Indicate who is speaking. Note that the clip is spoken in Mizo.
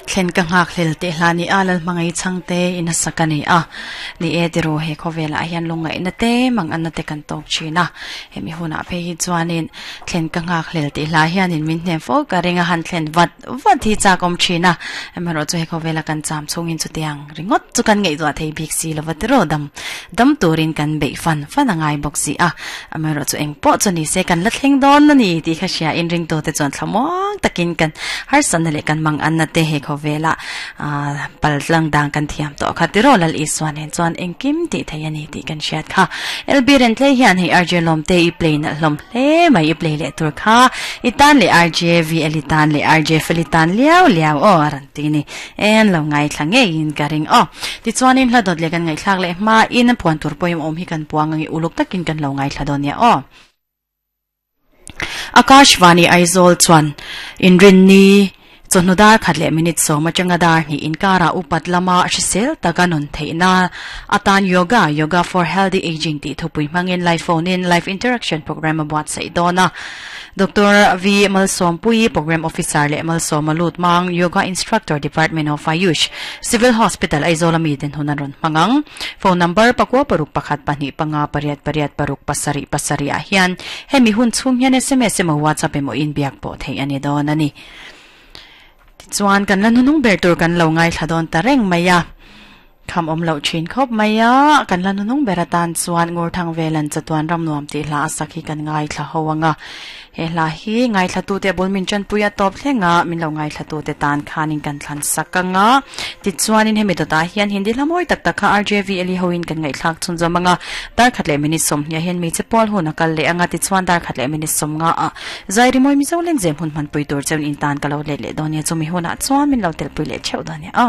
Speaker 1: Thlen ka nghak hlel teh hla ni a, Lalhmangaih chhangte in a sak a ni a. Ni e tiraw he khawvelah hian lungngaihna te manganna te kan tawk thin a. Hemi hunah phei hi chuanin thlen ka nghak hlel tih hla hianin min hnem fo ka ring a, han thlen vat vat hi chak awm thin a. Amaherawhchu he khawvela kan cham chhungin chutiang ringawt chu kan ngaihtuah thei bik si lova tiraw dam dam turin kan beih fan fan a ngai bawk si a. Amaherawhchu eng pawh chu ni se kan la thleng dawn a ni tih kha hria in ringtute chuan thlamuang takin kan harsatna leh kan manganna te he khawvela ah pal tlang dang kan thiam tawh kha tiraw Lal Isua nen chuan engkim tih theih a ni tih kan hriat kha. LB Rentlei hian hei RJ Lawmte i play nalh hlawm hle mai i play leh tur kha i tan leh RJ VL i tan leh RJ Fel i tan liau liau aw a rawn ti ni. En lo ngaithla ngeiin ka ring aw. Tichuanin hla dawt leh kan ngaihthlak leh hmain puan tur pawimawh awm hi kan puang ang i uluk takin kan lo ngaithla dawn nia aw. Akashvani Aizawl chuan inrinni chawhnu dar khat leh minute sawm atanga dar hnih inkarah upat lama hrisel taka nun theihna atan Yoga, Yoga for Healthy Aging tih thupui hmangin live phone in live interaction program a buatsaih dawn a. Doctor V Malsawmpuii, Program Officer leh Malsawma Lutmang, Yoga Instructor, Department of Ayush, Civil Hospital, Aizawl a miten hun an rawn hmang ang. Phone number, pakua paruk pakhat pahnih panga pariat pariat paruk pasarih pasarih ah hian hemi hun chhung hian sms emaw WhatsApp emaw inbiak pawh theih a ni dawn a ni. Tichuan kan la hnunung ber tur kan lo ngaithla dawn ta reng mai a. Kham awm loh thin khawp mai a, kan la nunung ber atan chuan Ngurthang Velan chatuan ram nuam tih hla a sak hi kan ngaithla ho ang a. He hla hi ngaithlatute bul min tanpui a tawp thleng a, min lo ngaithlatute tan khanin kan thlan sak ang a. Tichuanin hemi dawtah hian Hindi hla mawi tak tak kha RJV Eli hoin kan ngaihthlak chhunzawm ang a. Dar khat leh minute sawmhnih ah hian hmeichhe pawl hun a kal leh ang a, tichuan dar khat leh minute sawmnga ah Zairi mawi Mizo Lengzem hun hmanpui tur cheuin intan ka lo let leh dawn nia, chumi hunah chuan min lo telpui leh theuh dawn nia.